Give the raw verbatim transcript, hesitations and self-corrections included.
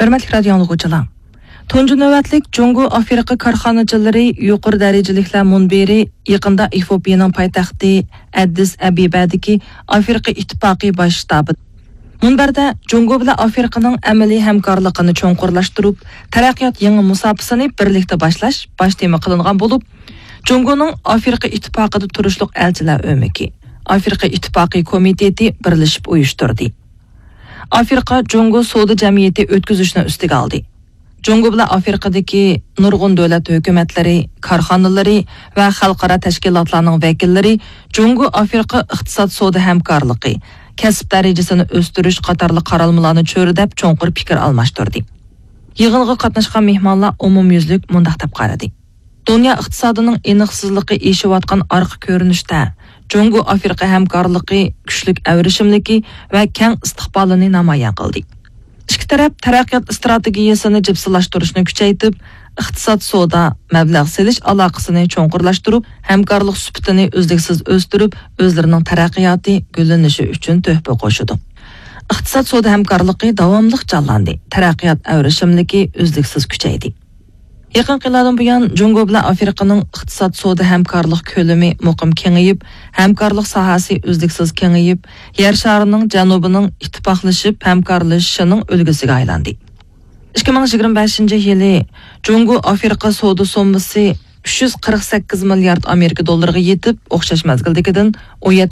ھۆرمەتلىك رادىيو ئاڭلىغۇچىلار، تۇنجى نۆۋەتلىك جۇڭگو ئافرىقا كارخانىچىلىرى يۇقىرى دەرىجىلىكلەر مۇنبىرى يېقىندا ئېفىئوپىيەنىڭ پايتەختى ئەددىس ئەبىبەدىكى ئافرىقا ئىتتىپاقى باش شتابى مۇنبەردە جۇڭگو بىلەن ئافرىقىنىڭ ئەمەلىي ھەمكارلىقىنى چوڭقۇرلاشتۇرۇپ، تەرەققىيات يېڭى مۇساپىسىنى بىرلىكتە باشلاش باش تېما قىلىنغان بولۇپ، جۇڭگونىڭ ئافرىقا ئىتتىپاقىدا تۇرۇشلۇق ئەلچىلەر ئۆمىكى، ئافرىقا ئىتتىپاقى كومىتېتى بىرلىشىپ ئۇيۇشتۇردى. ئافرىقا جۇڭگو سودا جەمئىيىتى ئۆتكۈزۈشنى ئۈستىگە ئالدى. جۇڭگو بىلەن ئافرىقىدىكى نۇرغۇن دۆلەت ھۆكۈمەتلىرى، كارخانىلىرى ۋە خەلقئارا تەشكىلاتلارنىڭ ۋەكىللىرى جۇڭگو ئافرىقا ئىقتىساد سودا ھەمكارلىقى، كەسىپ دەرىجىسىنى ئۆستۈرۈش قاتارلىق قارالمىلارنى چۆرىدەپ چوڭقۇر پىكىر ئالماشتۇردى. يىغىنغا قاتناشقان مېھمانلار ئومۇميۈزلۈك مۇنداق دەپ قارىدى. دۇنيا ئىقتىسادىنىڭ ئېنىقسىزلىقى ئېشىۋاتقان ئارقا كۆرۈنۈشتە، جۇڭگو ئافرىقا ھەمكارلىقى كۈچلۈك ئەۋرىشىملىكى ۋە كەڭ ئىستىقبالىنى نامايان قىلدى. ئىككى تەرەپ تەرەققىيات ئىستراتېگىيەسىنى جىپسىلاشتۇرۇشنى كۈچەيتىپ، ئىقتىساد، سودا، مەبلەغ سېلىش ئالاقىسىنى چوڭقۇرلاشتۇرۇپ، ھەمكارلىق سۈپىتىنى ئۈزلۈكسىز ئۆستۈرۈپ، ئۆزلىرىنىڭ تەرەققىياتى، گۈللىنىشى ئۈچۈن تۆھپە قوشىدۇ. ئىقتىساد، سودا ھەمكارلىقى داۋاملىق جانلاندى، تەرەققىيات ئەۋرىشىملىكى ئۈزلۈكسىز كۈچەيدى. يېقىنقى يىللاردىن بۇيان، جۇڭگو بىلەن ئافرىقىنىڭ ئىقتىساد، سودا ھەمكارلىق كۆلىمى مۇقىم كېڭىيىپ، ھەمكارلىق ساھەسى ئۈزلۈكسىز كېڭىيىپ، يەر شارىنىڭ جەنۇبىنىڭ ئىتتىپاقلىشىپ ھەمكارلىشىشىنىڭ ئۈلگىسىگە ئايلاندى. ئىككى مىڭ يىگىرمە بەشىنچى يىلى جۇڭگو ئافرىقا سودا سوممىسى ئۈچ يۈز قىرىق سەككىز مىليارد ئامېرىكا دوللىرىغا يېتىپ، ئوخشاش مەزگىلدىكىدىن ئون يەتتە